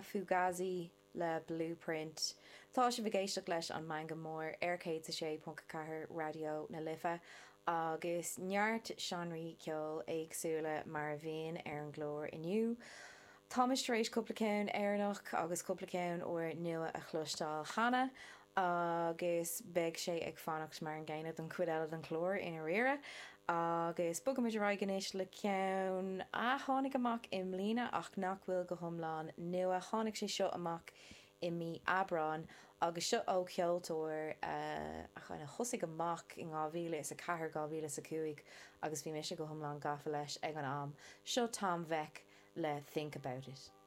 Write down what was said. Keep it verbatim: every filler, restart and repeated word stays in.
Fugazi le Blueprint. Tá sibh ag éisteacht leis an Meangadh Mór ar céad a sé ponc a ceathair Raidió na Life agus neart seánraí ceoil éagsúla mar a bhíonn ar an gclár inniu. Táimid tar éis cúpla ceann Éireannach agus cúpla ceann úr nua a chloisteáil cheana agus beidh sé ag fanacht mar an gcéanna don chuid eile den chlár i ndáiríre. Agus bogaimid ar aghaidh anois le ceann a tháinig amach i mbliana ach nach bhfuil go hiomlán nua. Tháinig sé seo amach i mí Aibreáin agus seo ó cheoltóir a kind of thosaigh amach in dhá mhíle is a ceathair, dhá mhíle is a cúig agus bhí mise go hiomlán gafa leis ag an am. Seo Tom Vek le Think About It.